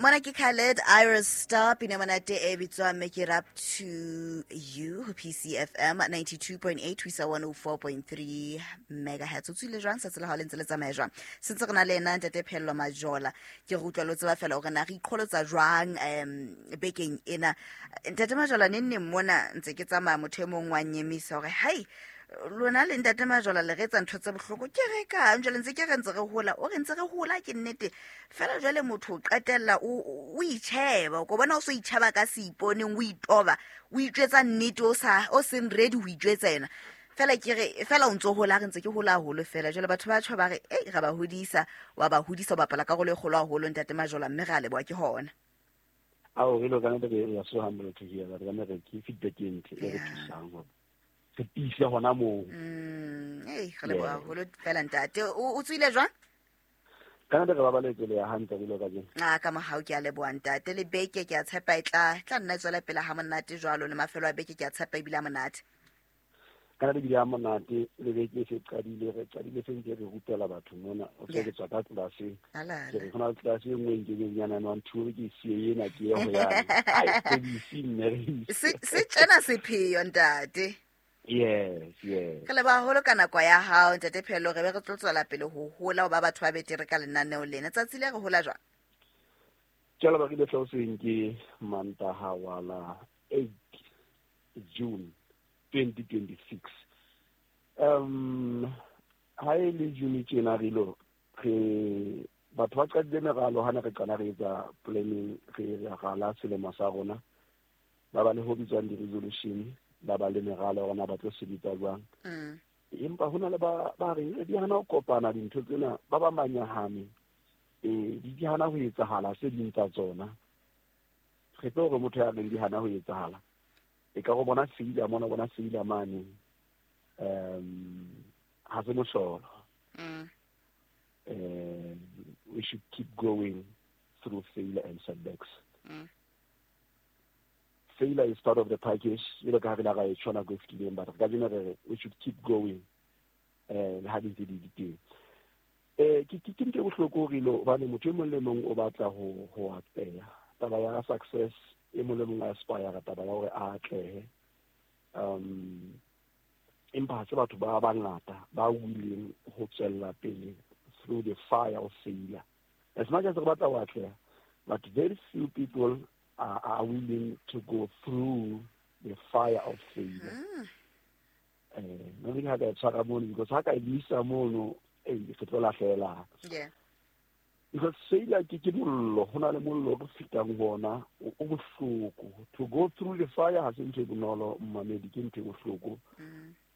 Mona ke Khaled Iris Star, pina monate e bitswang Make It Up To You ho PCFM 92.8 ho isa 104.3 megahertz. O tswile jwang tsatsi la hao le ntse le tsamaya jwang? Sentse re na le ena ntate Phello Majola. Ke re utlwa lo tseba fela hore na re iqholotsa jwang bekeng ena. Ntate Majola, neng neng mona ntse ke tsamaya motho e mong wa nyemisa hore hai lona le ntate Majola le re etsa ntho tse bohloko. Ke re kang jwale ntse ke re ntse re hola, o re ntse re hola ke nnete fela jwale motho o qetella o itjheba, o ko bona o so itjheba ka seiponeng, o itoba, o itjwetsa nnete o sa o seng ready ho itjwetsa yena. Fela ke re fela o ntso hola, re ntse ke hola haholo fela. Jwale batho ba tjho ba re ei re ba hodisa, wa ba hodisa, o bapala karolo e kgolo haholo ntate Majola, mme re a leboha ke hona. Ao re lo kana re ya so humble to hear that, kana re ke feedback e ntle e re thusang hore re tiise hona moo. Ei re leboha haholo fela ntate. O tswile jwang? Kana re babaletse le ya hantle re lo ka jeno. A ka mohau ke a leboha ntate. Le beke ke a tshepa e tla nna e tswela pele ha monate jwalo, le mafelo a beke ke a tshepa ebile a monate. Kana le bile a monate, le beke e se qadile, re qadile se ntse re rutela batho mona. O tse ke tswa ka tlelaseng. Ke re hona le tlelase e nngwe nke ke nyana nwa ntho ke sie ena ke ye ho yane. Ai, ke di si mme re Se tjena sepheo ntate. Yes, yes. Re leboha haholo ka nako ya hao ntate Phello, re be re tlo tswela pele ho hola ho ba batho ba betere ka lenaneo lena. Tsatsi le re hola jwang? Ke a leboha, ke le hlahoseng ke Mantaha wa la 8 June 2026. Ha e le June tjena re lo re batho ba qadile meralo ha ne re qala re etsa planning, re rala selemo sa rona. Ba ba le ho bitswang di-resolution, ba ba le meralo ya rona ba tlo sebetsa jwang. Empa hona le ba reng di hana ho kopana dintho tsena, ba ba manyahane, di hana ho etsahala tse ding tsa tsona. Re tlo hore motho ya reng di hana ho etsahala, e ka go bona seila mona, bona seila mane, ha se mohlolo. We should keep going through failure and setbacks. Failure is part of the package. Jwalo ka ha re la ra e tjho nako e fetileng, but ka jeno re re we should keep going. Le ha di ntse di le teng. Ke ntho e bohloko hore lo, hobane motho e mong le mong o batla ho atleha. Taba ya success, e mong le mong a aspire taba ya hore a atlehe. Empa ha se batho ba bangata ba willing ho tswella pele through the fire of failure. As much as re batla ho atleha, but very few people are willing to go through the fire of failure. Mme ha ka e tshwara mono, because ha ka e buisa mono, re tlo lahlela. Because failure ke mollo, ho na le mollo o fetang ho ona, o bohloko. To go through the fire ha se ntho e bonolo, mmamedi, ke ntho e bohloko.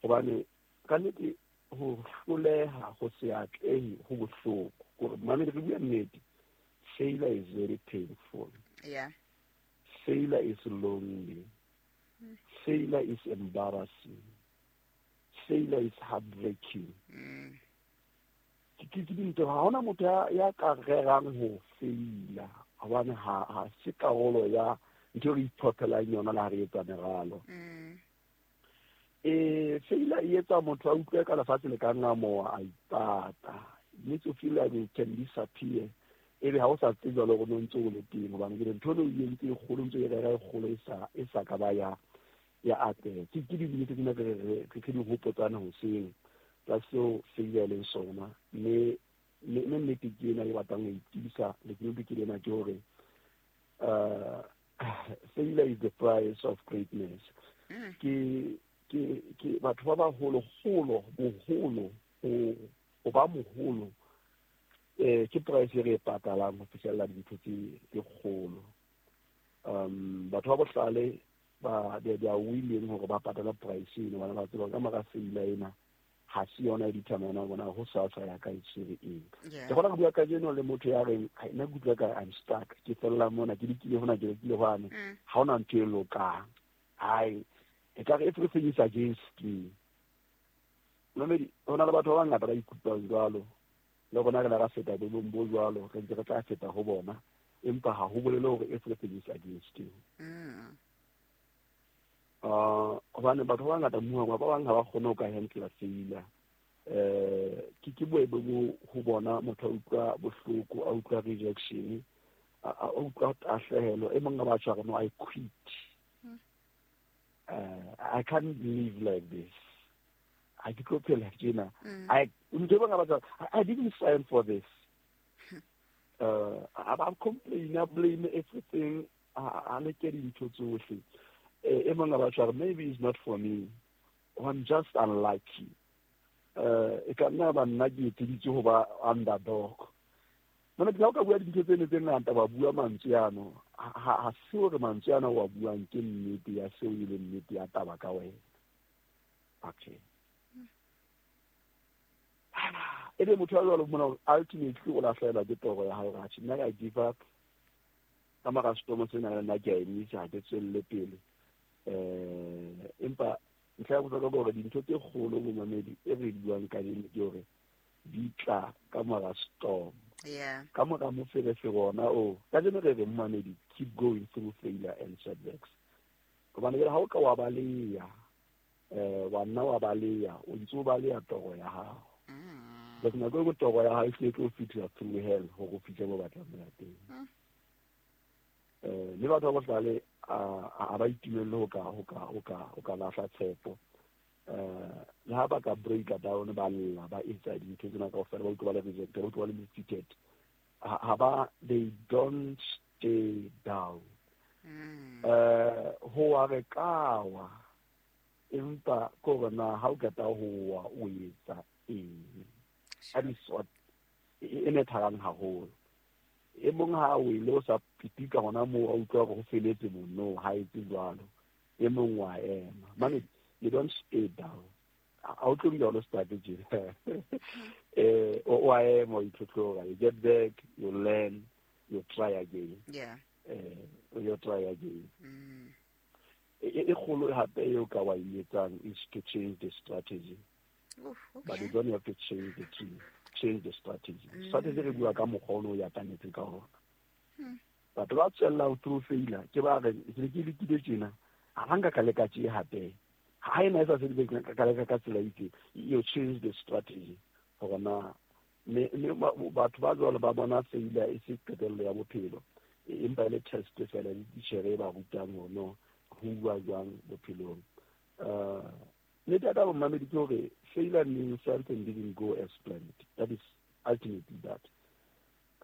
Hobane ka nnete ho hloleha, ho se atlehe, ho bohloko. Hore mmamedi, re bua nnete, failure is very painful. Failure is lonely. Failure is embarrassing. Failure is heartbreaking. Ke dintho, ha hona motho ya ka rerang ho faila, hobane ha se karolo ya ntho e re iphopelang yona le ha re etsa meralo. Failure e etsa motho a utlwe ka lefatshe le ka ngamoha, a ipata. It makes you feel like you can disappear. Ebe ha o sa tsebe jwalo hore o ntse o le teng, hobane ke ntho eno e entse e kgolo, ntse e rera e kgolo, e sa ka ba ya atleha. Ke dinnete tsena re di hopotsane hoseng tsa seo failure e leng sona. Mme nnete ke ena e batlang ho itiisa lekunutu ke lena, ke hore, failure is the price of greatness. Ke batho ba baholo, holo, boholo, ho ba moholo, ke price e re e patalang ho fihlella dintho tse kgolo. Batho ba bohlale ba, they are willing hore ba patale price eno, hobane ba tseba ka mora failure ena ha se yona e determine hore na ho sasa ya ka e tshwere eng. Ke kgona ho bua kajeno le motho ya reng, hai, nna ke utlwa ka I'm stuck, ke fella mona, ke lekile hona, ke lekile hwane, ha hona ntho e lokang. Hai, ekare everything is against me. Mamedi, ho na le batho ba bangata ba ikutlwang jwalo. Le rona re la ra feta boemong bo jwalo, re ntse re tla feta ho bona, empa ha ho bolele hore everything is against you. Hobane batho ba bangata mmuhang, ba bang ha ba kgone ho ka handle failure. Ke boemo bo ho bona motho a utlwa bohloko, a utlwa rejection, a utlwa tahlehelo. E mong a batjha re, no, I quit. I can't live like this. Ha ke tlo phela tjena. I ntho e bang a batjha, I didn't sign for this. A complain, a blame everything, a leke dintho tsohle. E mong a batjha re, maybe it's not for me. I'm just unlucky. E ka nna ba nna ke etseditswe ho ba underdog. Mona ke ha o ka bua dintho tsene tse ngata, wa bua mantswe ano, ha se hore mantswe ana wa buang ke nnete ya seo e leng nnete ya taba ka wena. Okay. Ebe motho ya jwalo mona ultimately o lahlehelwa ke toro ya hae, atjhe, nna ka give up ka mara setomo sena, le nna ke a emisa, ha ke tswelle pele. Empa ntlha ya bohlokwa ke hore dintho tse kgolo, momamedi, e re buang kajeno ke hore di tla ka mora storm. Ka mora moferefere ona o kajeno re re, momamedi, keep going through failure and setbacks, hobane jwale ha o ka wa baleya, wa nna wa baleya, o ntse o baleya toro ya hao, because nako e nngwe toro ya hao e hlile e tlo fihla through hell hore o fihle mo batlang ho ya teng. Mme batho ba bohlale a ba itumelle ho ka lahla tshepo. Le ha ba ka breaka down, ba lla, ba etsa dintho tsena kaofela, ba utlwa ba le rejected, ba utlwa ba le defeated, ha ba, they don't stay down. Ho wa re kawa, empa ke hore na ha o qeta ho wa o etsa eng. That is what e nethalang haholo. E mong ha o ile o sa pitika hona moo, a utlwa hore ho feletse mo, no, ha etse jwalo. E mong wa ema mane. You don't stay down. Ha o tlo dula o le stuck tje. O a ema, o itlhotlhora, you get back, you learn, you try again. You try again. E kgolo hape eo ka wa e etsang is to change the strategy. Oof, But you don't have to change the team, change the strategy. Strategy re bua ka mokgwa o ne o ya kanetse ka ona. Batho ba tswellang through failure ke ba re, ke ne ke lekile tjena, ha ba nka ka leka tje hape, ha ena e sa sebetse, ka leka ka tsela e itseng. You change the strategy hore na mme batho ba jwalo ba bona failure e se qetello ya bophelo, empa e le test fela le titjhere e ba rutang hore no, ho bua jwang bophelong. Nnete ya taba, momamedi, ke hore failure means something didn't go as planned. That is ultimately that.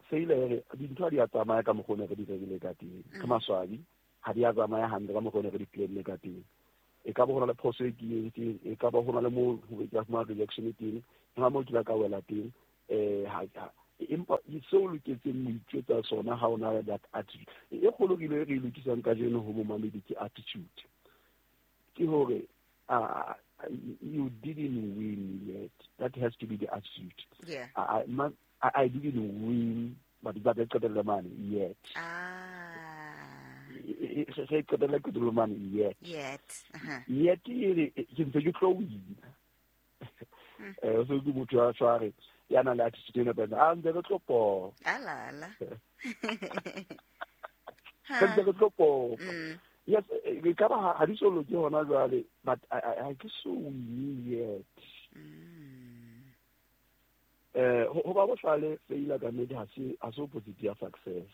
Failure e re dintho ha di a tsamaya ka mokgwa o ne re di rerile ka teng. Ke maswabi, ha di a tsamaya hantle ka mokgwa o ne re di planne ka teng. E ka ba ho na le phoso e ke entseng, e ka ba ho na le moo ho ke fumana rejection teng, ho na moo ke la ka wela teng. Ha empa seo o loketseng ho itjwetsa sona ha o na le that attitude e kgolo re ile re e lokisang kajeno ho momamedi ke attitude, ke hore you didn't win yet. That has to be the attitude. I didn't win, but e qetelle mane, yet. Ge qetelle qetelle mane, yet. Yet. Yet e re ke ntse ke tlo wina. So ke motho ya tshware ya nang le attitude e nepahetseng, a ntse re tlo popa. Alala. Re ntse re tlo popa. Yes, e ka ba ha di so loke hona jwale, but ha ke so win yet. Ho ba bohlale, failure ka nnete ha se opposite ya success.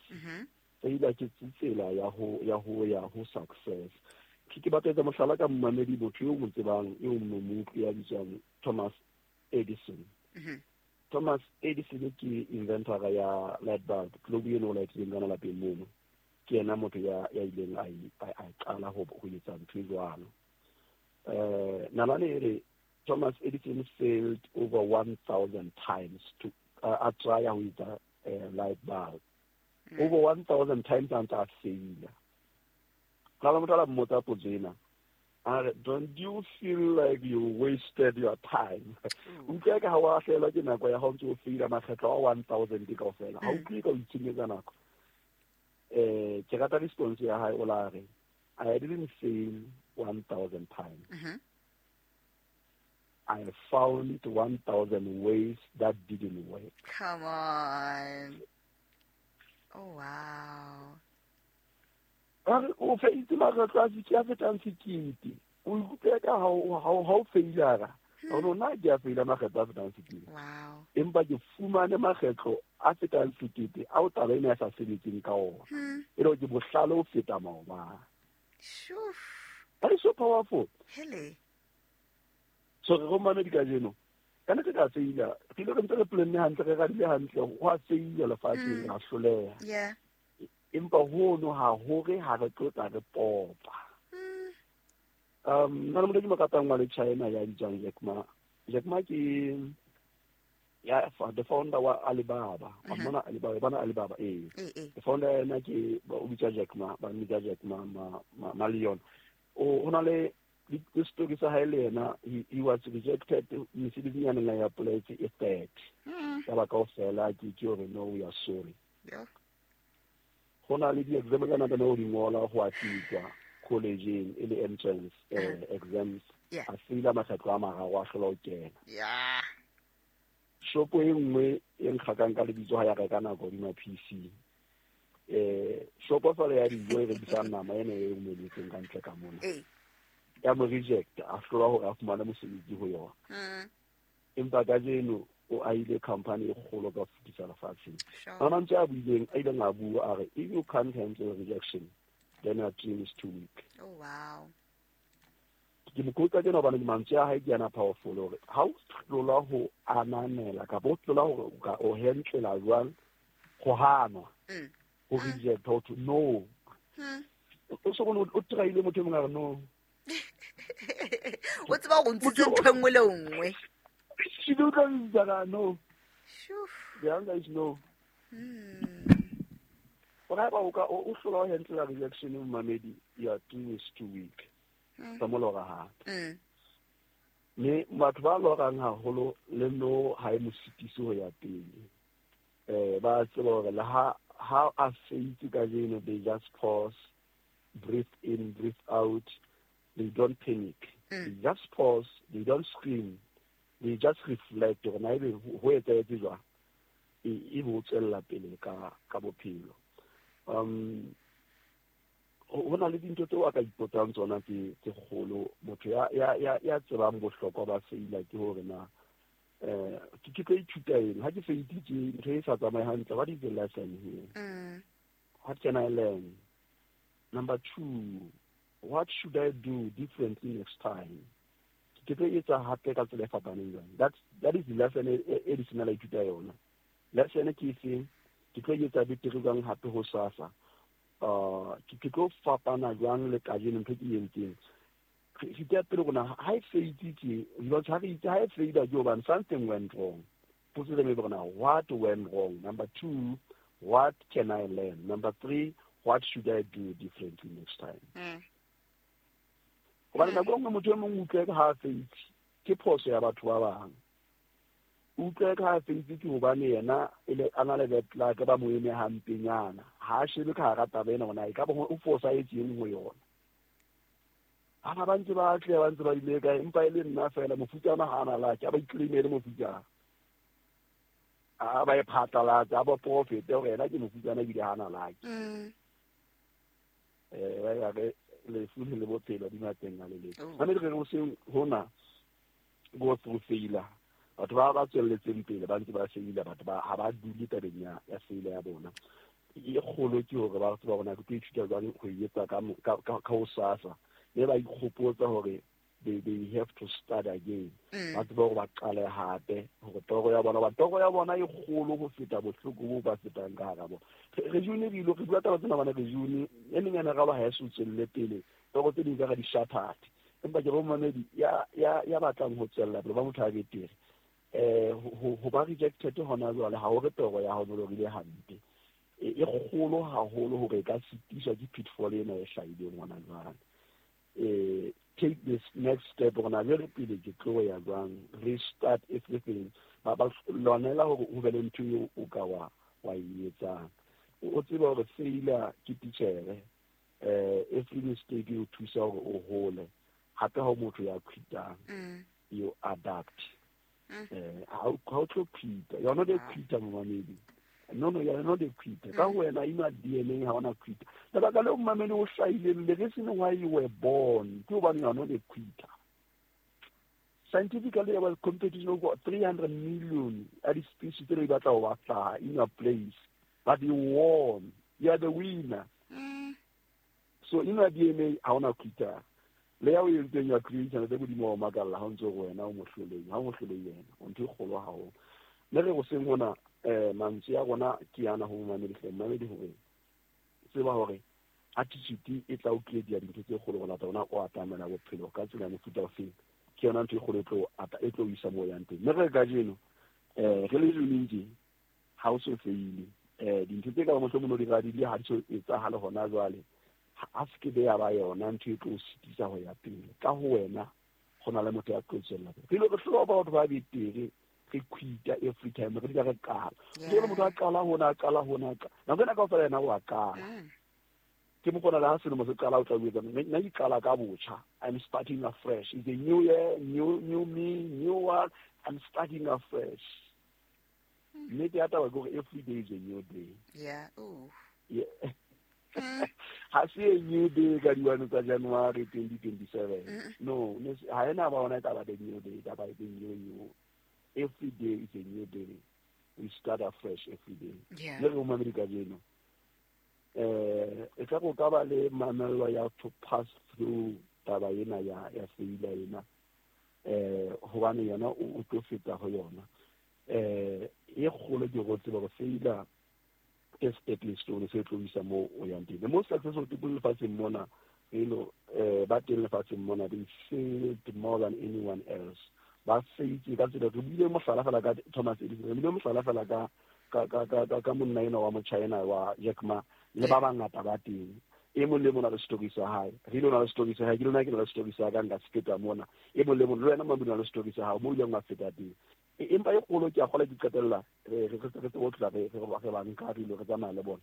Failure ke tsela ya ho ya ho success. Ke batla etsa mohlala ka momamedi, motho eo mo tsebang, eo mo utlwi, ya bitswang Thomas Edison. Thomas Edison ke inventor ya light bulb, globe eno o lightileng kana lapeng mono. Ke yena motho ya ileng a qala ho etsa ntho e jwalo. Nalane e re Thomas Edison failed over 1000 times to a try ho etsa light bulb. Over 1000 times a ntse a faila. Ga la motho a la mmotsa potso ena, a re, "Don't you feel like you wasted your time?" Utlwe ka ha wa hlelwa ke nako ya ha o ntse o faila makgetlo a 1000 kaofela, ha utlwe ka o itshenyetsa nako. Ke rata response ya hae, o la re, "I didn't fail 1000 times. I found 1000 ways that didn't work." Come on. Oh wow. A re o feitse makgetlo a a fetang 1000, o ikutlwe ka ha o failara. Rona ke a feila makgetlo a fetang 1,000. Wow. Empa ke fumane makgetlo a fetang 1,000 ao taba ena e sa sebetseng ka ona. E le hore ke bohlale ho feta maobane. Shoof. That is so powerful. Hele. So re romane di kajeno. Ka nnete ka feila. Re ile re ntse re planne hantle, re radile hantle, ho a feila lefatsheng, ra hloleha. Yeah. Empa hono ha hore ha re tlo tla re popa. Nna le motho ke mo ratang wa le China ya bitswang Jack Ma. Jack Ma ke ya the founder wa Alibaba. Wa mmona Alibaba, bona Alibaba, ee. The founder ena ke o bitswa Jack Ma, ba mmitsa Jack Ma, Ma, Ma, Ma Leon. O ho na le di story sa hae le yena, he was rejected mesebetsing ya neng a e apply-etse e 30. Ya ba kaofela ke hore no, we are sorry. Yeah. Ho na le di-exam tsa nako ho di ngola ho a fitwa college-eng e le entrance, exams. Yeah. A feila makgetlo a mararo a hlola ho kena. Yeah. Shopo e nngwe e nkgakang ka lebitso ha ya reka nako hodima PC. Shopo fela ya dijo e rekisang nama ena e omeletseng ka ntle ka mona. Ya mo reject, a hlola hore a fumane mosebetsi ho yona. Empa kajeno o ahile company e kgolo ka ho fetisa lefatsheng. Sure. A mantswe a buileng, a ileng a bua a re, if you can't handle rejection, then your dream is too weak. Oh, wow. Ke mo quote tjena hobane mantswe a hae ke ana powerful hore ha o hlola ho ananela kapa o hlola hore o ka o handlela jwang ho hanwa, ho reject, ho thwe no. O so bone o try-ile motho e mong a re no. O tseba hore o ntshitse ntho e nngwe le nngwe. She do tla bitsa ka no. Shoo. The answer is no. Hore haeba o ka, o hlola ho handlela rejection momamedi, your dream is too weak. Tsa mo lora hape. Mme batho ba lorang haholo le no ha e mo sitise ho ya pele. Ba tseba hore le ha a feitse kajeno, they just pause, breathe in, breathe out. They don't panic. They just pause, they don't scream. They just reflect hore na ebe ho etsahetse jwang. E bo tswella pele ka bophelo. Ho na le dintho tseo a ka ipotsang tsona tse kgolo. Motho ya tsebang bohlokwa ba feila ke hore na, ke tlo ithuta eng? Ha ke feititse ntho e sa tsamaye hantle, what is the lesson here? What can I learn? Number 2, what should I do differently next time? Ke tlo etsa hape ka tsela e fapaneng jwang? That is the lesson e di sena la ithuta yona. Lesson ke efeng? Ke tlo etsa betere jwang hape ho sasa? Ke tlo fapana jwang le kajeno ntho ke e entseng? Re tea pele rona, ha e feitse, because ha re itse, ha e feila ke hobane something went wrong. Potso e be rona, what went wrong? Number 2, what can I learn? Number 3, what should I do differently next time? Hobane nako e nngwe motho e mong o utlwe ka ha a feitse, ke phoso ya batho ba bang. O utlwe ka ha a feitse ke hobane yena e le a na le bad luck, ba mo eme hampenyana. Ha a shebe ka hara taba ena hore na ekaba o fosahetseng ho yona. Ha ba ntse ba atleha, ba ntse ba ile kae, empa e le nna fela, mofutsana ha a na luck, a ba iclaimele mofutsana. A ba e phatlalatse, a ba profete hore yena ke mofutsana ebile ha a na luck. Ba ya re lefu le bophelo di mateng a le leng. Oh. Ba ne re re hoseng hona go through failure. Batho ba ba tswelletseng pele ba ntse ba faila, batho ba ha ba dule tabeng ya failure ya bona. E kgolo ke hore ba tseba hore na ke tlo ithuta jwang ho e etsa ka hosasa. Mme ba ikgopotsa hore they have to start again. Ba tseba hore ba qale hape, hore toro ya bona, ba toro ya bona e kgolo ho feta bohloko bo ba fetang ka hara bona. Re june re ile, re bua taba tsena bana re june, e meng ya meralo ha e so tswelle pele, toro tse ding ka di shattered. Empa ke re momamedi ya batlang ho tswella pele, ba motho a betere. Ho ba rejected hona jwale, ha o re toro ya hao e lorile hampe. E kgolo haholo hore e ka sitiswa ke pitfall ena e hlahileng hona jwale. Take this next step, hore na jwale pele ke tlo ya jwang, restart everything. Ba lwanela hore ho be le ntho eo o ka wa e etsang. O tsebe hore failure ke titjhere, every mistake e o thusa hore o hole. Hape ha o motho ya quitang, you adapt. Ha o tlo quita. You are not a quitter, momamedi. No, no, you are not a quitter. Ka ho wena, in your DNA ha ona quitter. Lebaka leo momamedi o hlahileng, the reason why you were born, ke hobane you are not a quitter. Scientifically, there was competition over 300 million ya di-species tse di batla ho batla in your place, but you won. You are the winner. So in your DNA ha ona quitter. Le ya o entseng ya creation le Modimo wa makalla ha o ntse go wena o mohloleng, ha o mohloleng yena, o ntho e kgolo haholo. Mme re hoseng hona mantswe ya rona ke ana ho momamedi hle, momamedi hore tseba hore attitude e tla o create dintho tse kgolo go lata ona o atamela bophelo ka tsela ya mofuta ofeng. Ke yona ntho e kgolo e tlo isa moo yang teng. Mme re kajeno re le joleng tje ha o so feile dintho tse ka ba mohlomong o di radile ha di so etsahale hona jwale, ha se ke be ya ba yona ntho e tlo o sitisa ho ya pele. Ka ho wena go na le motho ya tlo tswella pele. Re ile re hloka batho ba betere, re quita every time, re dula re qala. Ke le motho a qala hona, a qala hona, nako ena kaofela yena o a qala. Ke mo kgona le ha selemo se qala o tla o etsa, nna ke qala ka botjha. I'm starting afresh. It's a new year, new me, new one. I'm starting afresh. Nnete ya taba ke hore every day is a new day. Yeah. Ooh. Yeah. Ha se a new day ka di-1 tsa January 2027. No, ha ena ba ona e tla ba the new day, e tla ba the new new. Every day is a new day. We start afresh every day. Yeah. Le re momamedi kajeno e tla go ka ba le mamello ya to pass through taba ena ya failure ena, hobane yona o tlo feta ho yona. E kgolo ke go tseba go failure ke stepping stone se tlo isa moo o yang teng. The most successful people lefatsheng mona, you know, ba teng lefatsheng mona, they failed more than anyone else. Ba faitse ka tsela, re buile mohlala fela ka Thomas Edison, re buile mohlala fela ka monna enwa wa Mochina wa Jack Ma, le ba bangata ba teng. E mong le mong o na le story sa hae. Re ile o na le story sa hae, ke lona ke na le story sa ka, nka se feta mona. E mong le mong, le wena Mabidi o na le story sa hao, moo o ileng wa feta teng. Empa e kgolo ke a kgola ke qetella re tsebe ho tloha re ba nka re ile re tsamaya le bona.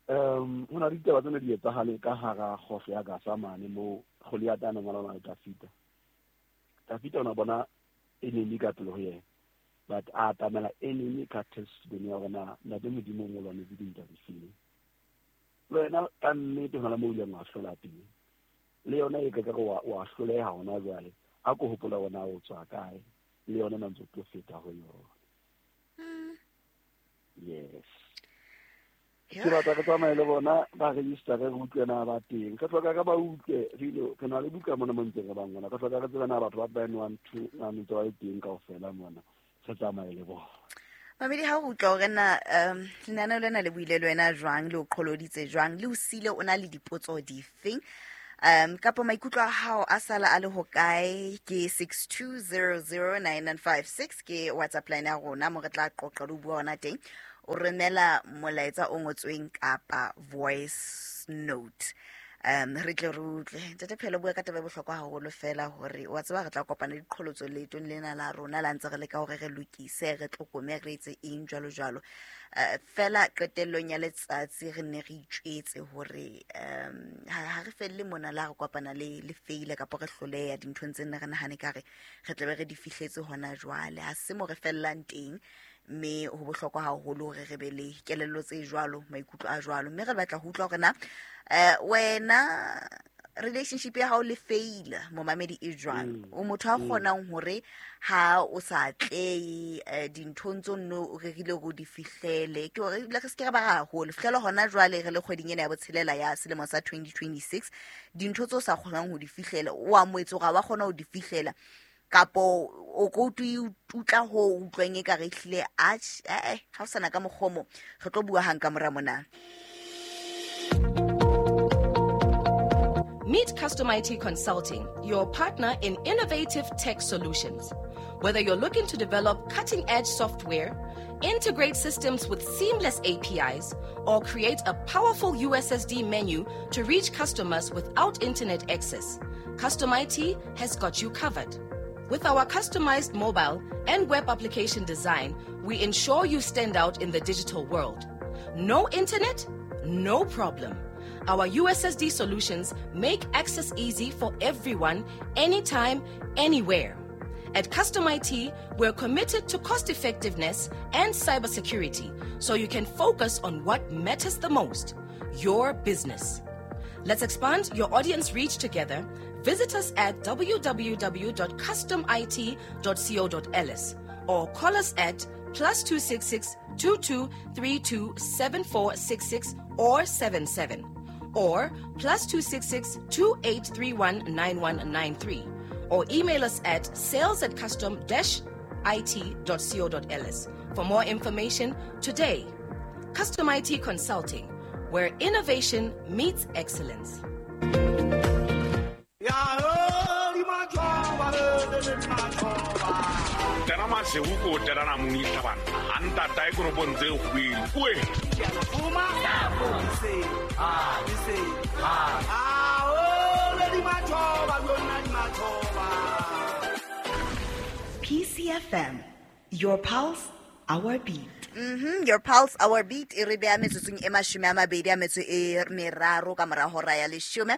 Ho na le ditaba tsena di etsahale ka hara kgohlo ya Gaza mane moo Goliath a neng a lwana le Dafita. Dafita o na bona enemy ka pele ho yena, but a atamela enemy ka testimony ya hore na Ntate Modimo o mo lwanetse dintwa difeng. Le wena ka nnete ho na le moo o ileng wa hlola teng. Le yona e ka re wa hloleha hona jwale, a ko hopola hore na o tswa kae, le yona na ntse o tlo feta ho yona. Yes. Ke batla re tsamaye le bona ba register re utlwe na ba teng. Re hloka re ba utlwe, re ile re na le buka mona mo ntseng re ba ngola. Re hloka re tsebe na batho ba 9 1 2 na ntse ba le teng kaofela mona. Re tsamaye le bona. Mamedi, ha o utlwa hore na lenaneo lena le buile le wena jwang, le o qholoditse jwang, le o siile o na le dipotso difeng, kapa maikutlo a hao a sala a le hokae, ke 62009956 ke WhatsApp line ya rona mo re tla qoqa le ho bua hona teng. O romela molaetsa o ngotsweng kapa voice note. Re tle re utlwe. Ntate Phelo, bua ka taba e bohlokwa haholo fela hore wa tseba re tla kopana le diqholotso leetong lena la rona la ntse re leka hore re lokise, re tlokome, re etse eng jwalo jwalo. Fela qetellong ya letsatsi re ne re itjwetse hore ha re felle mona la re kopana le faile kapa re hloleha dinthong tse nne re nahane ka re re tlabe re di fihletse hona jwale. Ha se mo re fellang teng, mme ho bohlokwa haholo hore re be le kelello tse jwalo, maikutlo a jwalo. Mme re batla ho utlwa hore na wena relationship ya hao le fail momamedi e jwang? O motho a kgonang hore ha o sa atlehe dinthong tseo nno o rerile hore o di fihlele, ke hore ebile re se ke ra ba haholo. Fihlele hona jwale re le kgweding ena ya botshelela ya selemo sa 2026, dintho tseo o sa kgonang ho di fihlela, o amohetse hore ha wa kgona ho di fihlela, kapo o ko utla ho utlwang e ka re ehlile atjhe, ha o sana ka mokgomo, re tlo bua hang ka mora mona. Meet Custom IT Consulting, your partner in innovative tech solutions. Whether you're looking to develop cutting-edge software, integrate systems with seamless APIs, or create a powerful USSD menu to reach customers without internet access, Custom IT has got you covered. With our customized mobile and web application design, we ensure you stand out in the digital world. No internet? No problem. Our USSD solutions make access easy for everyone, anytime, anywhere. At Custom IT, we're committed to cost effectiveness and cybersecurity, so you can focus on what matters the most, your business. Let's expand your audience reach together. Visit us at www.customit.co.ls or call us at +266 22 32 7466 or 77 or +266 2831 9193 or email us at sales@custom-it.co.ls for more information today. Custom IT Consulting, where innovation meets excellence. Tena masego ko telana monisa bana a ntata e koropong tse kgwedi oe. PCFM, your pulse, our beat. Your pulse, our beat. E re beha metsotsong e 23 ka mora hora ya 10.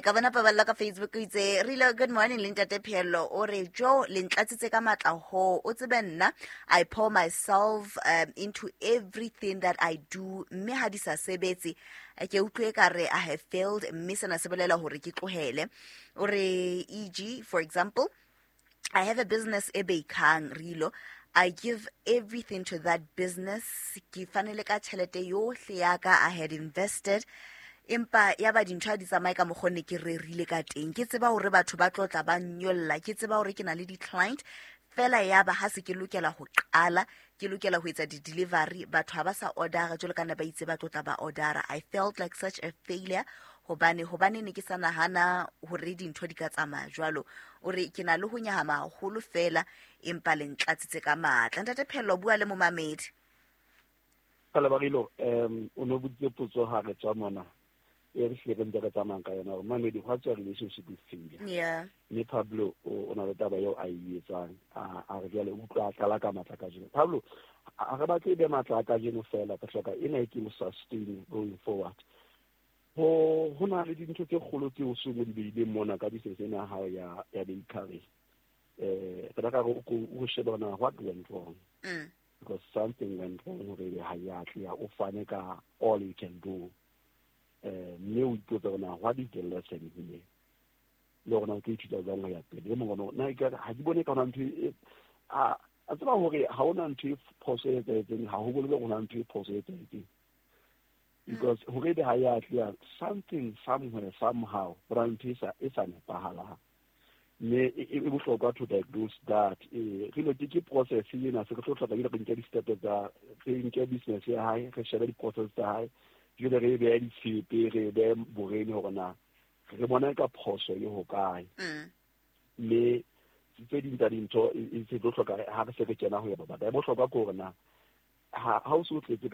Ka bona Paballo ka Facebook o itse, Rilo, good morning le ntate Pheello. O re, Jo, le ntlatsitse ka matla ho. O tsebe nna, I pour myself into everything that I do. Mme ha di sa sebetse, ke utlwe ka re I have failed. Mme sena se bolela hore ke tlohele. O re, e.g., for example, I have a business e bakang, Rilo. I give everything to that business. Ke fanele ka tjhelete yohle ya ka I had invested. Empa ya ba dintho ha di tsamaye ka mokgwa ne ke rerile ka teng. Ke tseba hore batho ba tlo tla ba nyolla. Ke tseba hore ke na le di-client. Fela ya ba ha se ke lokela ho qala, ke lokela ho etsa di-delivery, batho ha ba sa order-a jwalo ka nna ba itse ba tlo tla ba order-a. I felt like such a failure hobane ne ke sa nahana hore dintho di ka tsamaya jwalo. O re ke na le ho nyahama haholo fela, empa le ntlatsitse ka matla. Ntate Pheello, bua le momamedi. Palabarilo, o no boditse potso ha re tswa mona. E re hlile re ntse re tsamayang ka yona hore mamedi, what's your relationship with failure? Yeah. Mme Pablo o na le taba eo a e etsang, a re jwale o utlwa a tlala ka matla kajeno. Pablo, a re batle e be matla a kajeno fela, re hloka ena e ke mo sustain going forward. Ho na le dintho tse kgolo tseo o seng o di beileng mona ka business ena ya hao ya bakery. Re ka re o shebe hore na what went wrong. Because something went wrong hore ebe ha ya atleha, o fane ka all you can do. Mme o ipotse hore na what is the lesson here? Le hore na o tlo ithuta jwang ho ya pele. E mong ona, nna ekare ha ke bone ka hona ntho e, a tseba hore ha hona ntho e phoso e etsahetseng, ha ho bolele hore hona ntho e phoso e etsahetseng. Because hore ebe ha ya atleha, something somewhere somehow ho na ntho e sa nepahalang. Mme e bohlokwa to diagnose that. Re lo ke process ena, se re tlo hloka ebile re nke di-step tsa, re nke business ya hae, re shebe di-process tsa hae, jwale re e behe ditshepe, re e behe borene hore na re bona ka phoso e hokae. Mme tse ding tsa dintho e se tlo hloka ha re se re kena ho ya batla. E bohlokwa ke hore na ha o so tletse